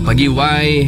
Pagi Y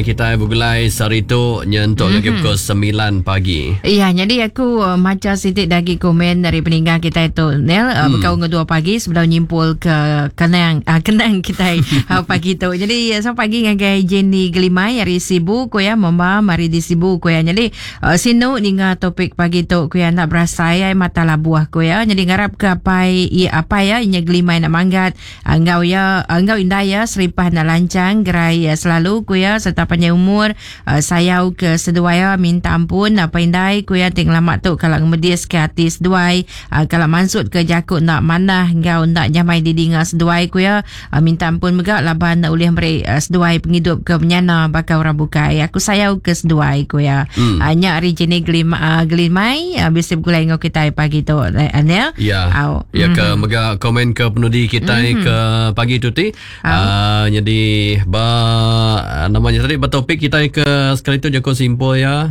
kita begulai sehari tu nyentuk mm-hmm. pukul 9 pagi. Ya, jadi aku maca siti dagi komen dari peninggal kita itu Nel bekau ngedua pagi sebelum nyimpul ke kenang kenang kita pagi tu. Jadi selamat pagi ngagai Jenny Gelimai ari Sibu ku ya, mama mari di Sibu ku ya. Jadi sinu ninga topik pagi tu ku ya, nak berasai ai mata labuh ku ya. Jadi ngarap ke apai apai ya inya Gelimai nak manggat enggau ya enggau indai ya seripah nak lancang gerai selalu ku ya serta panjai umur. Sayau ke seduai ya minta ampun apai indai ku ya ti ngelama tu kala ngemedis ke ati seduai kala mansut ke jaku enda manah enggau enda nyamai didinga seduai ku ya. Minta ampun mega laban ulih meri seduai pengidup ke menyana baka orang bukai. Aku sayau ke seduai ku iya. Hmm. Nya ari Jenny Gelim, Gelimai bisi begulai enggau kitai pagi tu Anil. Ya. Au. Ya ke mm. mega komen ke penudi kitai mm. ke pagi tu ti. Uh, jadi ba namanya tadi ba topik kitai ke sekali tu jaku simpul ya.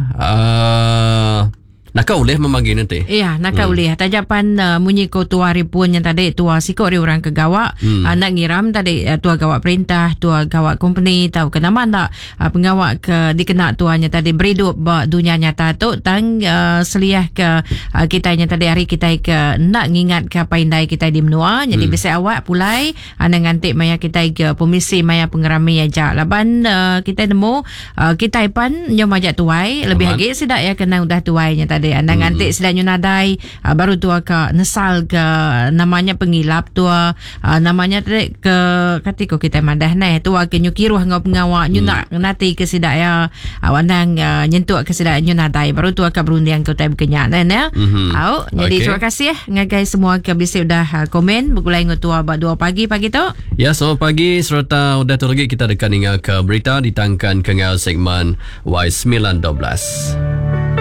Naka ulih memagi nanti. Iya, naka hmm. ulih. Taja pan munyi ko tua hari pun yang tadi tua siko ari orang ke gawa, nak ngiram tadi tua gawa perintah, tua gawa company tau ke nama ndak pengawa ke dikena tua nya tadi beridup ba dunya nyata tu tang seliah ke kitai nya tadi hari kitai ke enda ngingat ke apai indai kitai di menua jadi bisi awak pulai anang nganti maya kitai ke pemisi maya pengerami aja laban kitai nemu Kitai pan nyau majak tuai lebih agi sida iya kena udah tuai nya tadi. Anang nganti sida nyu nadai baru tua ka nesal ke nama nya pengilap tua nama nya tadi ke kati ko kitai madah neh tua ke nyu kiruh enggau pengawa nyu enda ngenati ke sida iya anang nyentuk ke sida nyu nadai baru tua ka berunding ke utai baka nya neh ne. Au jadi terima kasih ngagai semua ke bisi udah komen begulai enggau tua ba 2 pagi pagi tu. Ya, selamat pagi sereta udah tu lagi kita deka ninga ke berita ditangkan ke enggau segmen Y912.